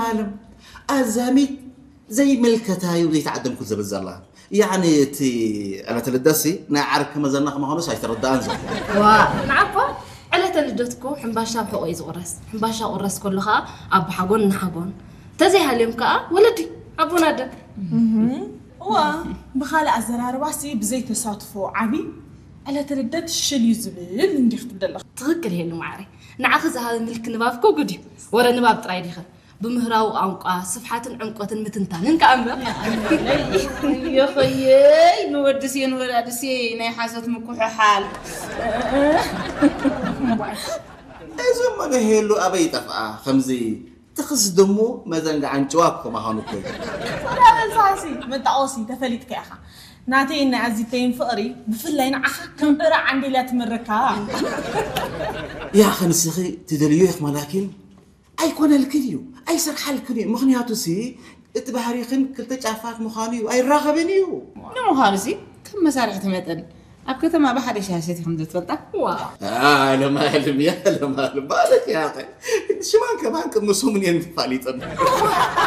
ማለም ኣዛሚት ዘይምልከታዩ ዘይተዓደምኩ ዝብል ዘላ ያኒ እቲ ዕለት ልደሲ ናይ ዓርኪ መዘና ከማኾኑስ ኣይተረዳኣን ዘሎ። ዋ ንዓኮ ዕለተ ልደትኮ ሕምባሻ ብሕቆ እዩ ዝቁረስ። ሕምባሻ ቁረስ ከሎ ከዓ ኣቦሓጎን እናሓጎን ተዘይሃልዮም ከዓ ወለዲ ኣቦን ኣደን። እዋ ብኻልእ ኣዘራርባሲ ብዘይተሳትፎ ዓቢ ዕለተ ልደት ሽል እዩ ዝብል እንዲኽ ትብል ኣለኻ። ትኽክል ሄሉ ማዕረይ። ንዓኺ ዝሃበ ምልኪ ንባብ እኮ ጉድ እዩ። ወረ ንባብ ጥራይ ዲኸ? ብምህራዊ ቋንቋ ስፍሓትን ዕምቆትን ምትንታንን ከኣ እምበር። የኸየይ ንወድስ የን ወላድስ ናይ ሓሶት ምኩሕሓል። እዚ እሞ ንሄሉ ኣበይ ጠፍኣ ከምዚ ትኽስ ድሙ መዘንግዓን ጭዋ ክማዃኑ እኮ እዩ። ተላበልሳሲ መጣቆሲ ተፈሊጥካ ኢኻ። ናተይን ናይ ኣዚተይን ፍቕሪ ብፍላይ ንዓኻ ከም ዕረ ዓንዴልያ ትምርካ። ያ ኸንስኺ ትደልዮ ኢኽ ማላኪን ኣይኮነልክን እዩ ኣይሰርሓልክን እዩ ምኽንያቱ ሲ እቲ ባህሪኽን ክልተ ጫፋት ምዃኑ እዩ ኣይራኸብን እዩ። ንምዃኑ ሲ ከም መሳርሕቲ መጠን ኣብ ከተማ ብሓደ ሻሂ ሰቲኹም ዶ ትፈልጣ? ዋ ለማልም ያ ለማልም ማለት ያኸ ሽማን ከማን ቅድሚ ሰሙን እየን ተፋሊጠን።